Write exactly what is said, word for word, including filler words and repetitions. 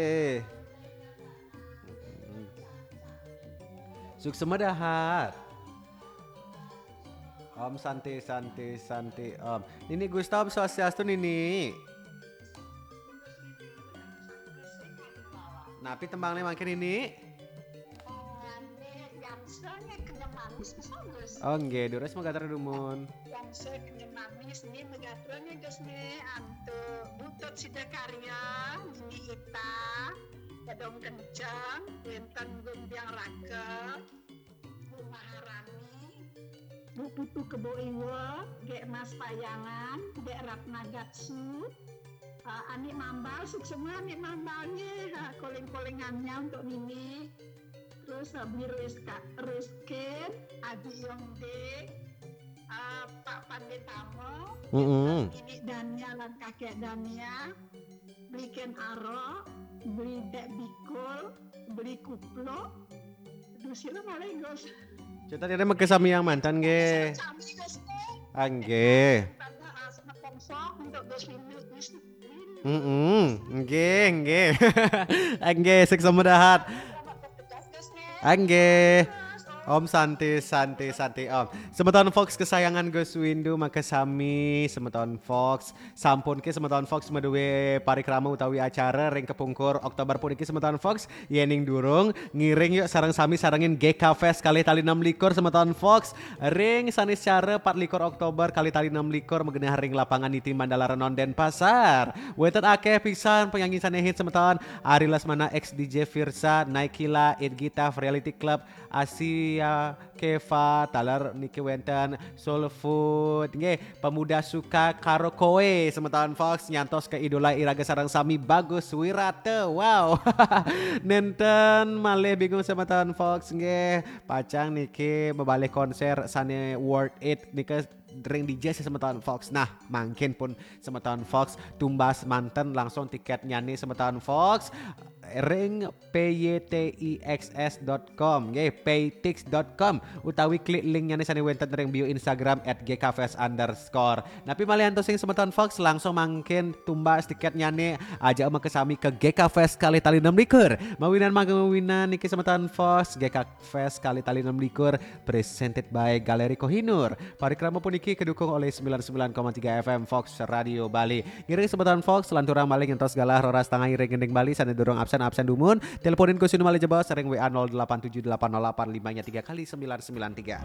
Eh. Suksma dahat. Om Santi, Santi, Santi, Om. Nini Gusta, Om Swastiastu, Nini. Napi tembangné mangkin, Nini? Oh, nggih, durus megatra dumun. Yang saya kenyam manis ini megatranya Gus nih, antu Butut Sidakarya, Nini Ita, Gadong Kenceng, wénten Gung Biang Rakel, Bu Maharani, Bu Putu Kebo Iwa, Gék Mas Payangan, Gék Ratna Gatsu, eh, Anik Mambal, suksma Anik Mambalnya, eh, koling-kolingannya untuk Nini. Terus, eh, Beli Rizka, Rizkin, Adi Yongde, eh, Pak Panditamo, Mm-mm. Nini Dania lan Kakek Dania, Beli Ken Aro, Beli Dek Bikul, Beli Kuplo. Duh, sira malih, Gus. Cita dene mega sami yang mantan nggih. Sami, Gus. Ah, nggih. Tambah, eh, semeton sok untuk Gus Windu. Gus Windu. Mm-mm. Nggih, nggih. Ah, nggih, suksma dahat. Selamat bertugas, Gus, nggih. Ah, nggih. Om Santi, Santi, Santi, Om. Semeton Fox kesayangan Gus Windu, mega sami semeton Fox. Sampun ké semeton Fox madué parikrama utawi acara ring kepungkur Oktober puniki semeton Fox. Yéning durung, ngiring yuk sareng sami sarengin G K Fest kalih tali enam likur semeton Fox. Ring Saniscara pat likur Oktober kalih tali enam likur magenah ring lapangan Niti Mandala Renon Denpasar. Wénten akéh pisan penyanyi sané hit semeton. Ari Lesmana, X D J Firsa, Naikila, It Gitaf, Reality Club, Asia Keva, taler niki wénten Soul Food, nggih, Pemuda Suka Karo Koe, semeton Fox, nyantos ke idola iraga sareng sami Bagus Wirata. Wow. Nénten malih bingung semeton Fox, nggih, pacang niki mabalih konser sané worth it nika ring D J semeton Fox. Nah, mangkin pun semeton Fox tumbas manten langsung tiketnya nih semeton Fox ring P Y T I X S dot com, nggih, paytix dot com, utawi klik linknya nih sané wénten ring bio Instagram at G K Fest underscore. Napi malih antos sing semeton Fox langsung mangkin tumbas tiketnya nih, aja mega sami ke G K Fest kalih tali enam likur. Mawinan mangga mawinan niki semeton Fox, G K Fest kalih tali enam likur, presented by Galeri Kohinoor. Parikrama puniki kedukung oleh sembilan sembilan koma tiga F M Fox Radio Bali. Ngiring semeton Fox, lanturang malih ngentos galah roras tangah iring gending Bali, sané durung absen-absen dumun. Teleponin Gus Windu malih jebos ring W A nol delapan tujuh delapan nol delapan lima nya tiga kali sembilan sembilan tiga.